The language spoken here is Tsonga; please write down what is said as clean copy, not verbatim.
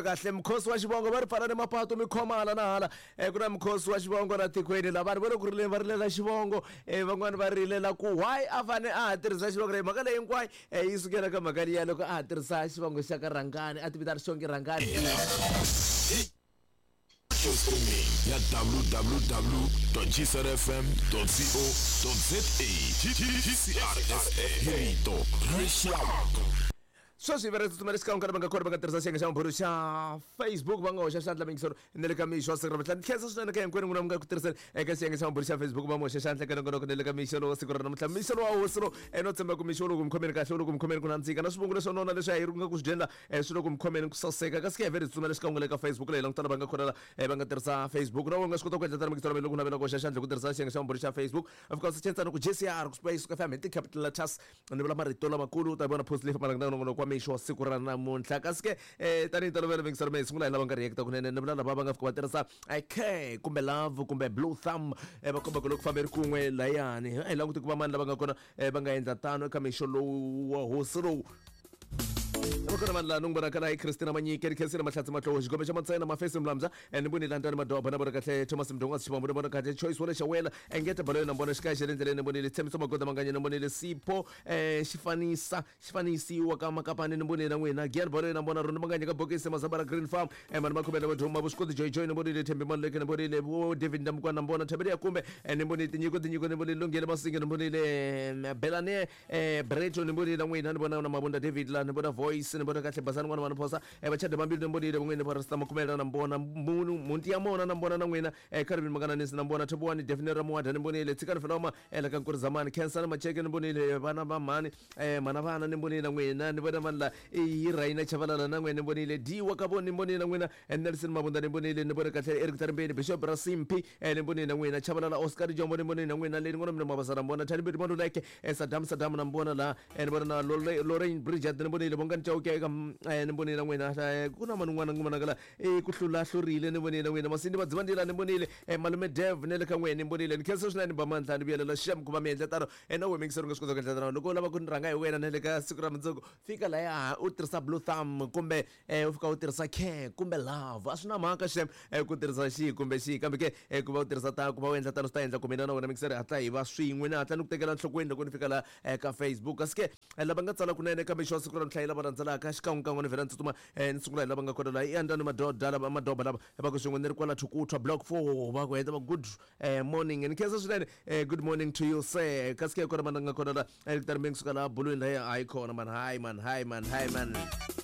Kahle mukhosi wa xivongo va ri pfala ni mapatu mi khoma hala na hala. Ku na mukhosi wa xivongo la tikweni la vanhu va le ku rileni, va rilela xivongo. Van'wani va rilela ku why a fane a ha tirhisa xivongo leyi. Mhaka leyi hinkwayo yi sukela ka mhaka liya loko a ha tirhisa xivongo xa ka Rhangani, a ti vitana Xongi Rhangani. Streaming ya www.gcrfm.co.za GCRFM hi rito ra rixaka. Sweswi hi vere tsutsumela xikan'we ka lava nga kona va nga tirhisa xiyenge xa mabulu xa Facebook, va nga hoxa xandla mingisoro na le ka mixo wa siku ra namuntlha. Ni khensa swinene ka hinkwenu n'wina mi nga ku tirhiseni eka xiyenge xa mabulu xa Facebook, va mi hoxa xandla eka nongonoko na le ka mixo lowa siku ra namuntlha. Mixo lowa hosi lowu no tshemba ku mixo lowu ku mi khomeni kahle, wu le ku mi khomeni ku nandzika na swivungu leswo nona leswi a hi ri nga ku swi dyeni la swi le ku mi khomeni ku saseka. Kasi ke hi vere tsutsumela xikan'we le ka Facebook leyi languta lava nga kona la va nga tirhisa Facebook. Na wena u nga swi kota ku endla tano mingisoro loko u navela ku hoxa xandla hi ku tirhisa xiyenge xa mabulu xa Facebook. Of course, xiyenge ku JCR ku Space FM hi ti-capital letters. Ni vula marito lamakulu, u ta vona post leyi fambelaka na nongonoko wa mixo wa siku ra namuntlha. Kasi ke tanihi ntolovelo mingiselo mi hi sungula hi lava nga reacta kunene. Ni vula lava va nga fika va tirhisa care kumbe love kumbe blue thumb, va komba ku loko fambe ri kun'we layani. A hi languti ku va mani lava nga kona va nga endla tano eka mixo lowu wa hosi lowu. Va kona vanhu laha ni n'wi vonaka laha i Christina Manyike, ni khensile Mahlatsi Matloho, Xigombe xa Matsena, Mafesi Mlamza, ni voni Landani Madoba, na vona kahle Thomas Mdongwazi Xivambu, ni vona kahle Choice Wole Xawela, Engeta Baloyi, na vona Xikaya xa le ndleleni, ni vonile Tshemiso Magoda Manganye, ni vonile Sipho Xifanisa Xifanisiwa ka Makapani, ni vonile na n'wina Gian Baloyi, na vona Roni Manganye ka Bokisi Mazambara Green Farm, Mani Makhubele Vaduma Vuswikoti Joy Joy, ni vonile Thembi Maluleke, ni vonile vo David Ndamukwana, na vona Thabeli ya Kumbe, ni vonile Tinyiko Tinyiko, ni vonile Lunghile Masinge, ni vonile Belane Breto, ni vonile na n'wina, ni vona na Mavunda David la, ni vona Voice, ni vona kahle Basani n'wana wa Phosa, Vachada Mambili, ni vonile van'wini va Rasta Makumela, na vona Munu Munti ya Mona, na vona na n'wina Carvin Makananisi, na vona Thobiwani Daphne Ramuwada, ni vonile Tshikani Feloma la ka Nkurizamani, Khensani Macheke, ni vonile vana va mhani mhana vana, ni vonile na n'wina, ni vona vanhu la i Raina Chavalala na n'wina, ni vonile D wa ka voni, ni vonile na n'wina Nelson Mabunda, ni vonile, ni vona kahle Eric Tarimbeni, Bishop Rasimpi, ni vonile na n'wina Chavalala Oscar Jombo, ni vonile na n'wina Leni n'wana mina Mabasa, na vona Thani Mbirhi Maluleke, Saddam Saddam, na vona la ni vona na Lorraine Bridget, ni vonile Bongani Chauke eka ni vonile na n'wina ku na man'wana ni vonaka la ku hlula hlurile, ni vonile na n'wina Masindi Madzivandila, ni vonile Malume Dev ne le ka n'wina, ni vonile. Ni khensa swinene ba mandla, ni vuyelela xem ku va mi endla tano. Na wehe mingiseri u nga swi kota ku endla tano loko u lava ku ni rhanga hi wena na le ka siku ra mundzuku. Fika laya u tirhisa blue thumb kumbe u fika u tirhisa care kumbe love, a swi na mhaka xem ku tirhisa xihi kumbe xihi, kambe ke ku va u tirhisa ta ku va u endla tano swi ta endla ku mina na wena mingiseri hatla hi va swin'we. Ni hatla ni ku tekela enhlokweni loko ni fika la ka Facebook. Kasi ke lava nga tsala kunene kambe xo siku ra namuntlha hi lava landzelaka xikan'wekan'we, ni vhela ni tsutsuma ni sungula hi lava nga kona laha i Andani Madoda lava Madoba lava va ku swin'we ni ri kwala Thukuthwa block 4, va ku heta va good morning. Ni khensa swinene, good morning to you sir. Kasi ke kona mana nga kona la kutani mi suka laha bulwini laha hayi khona man, hayi man, hayi man, hayi man.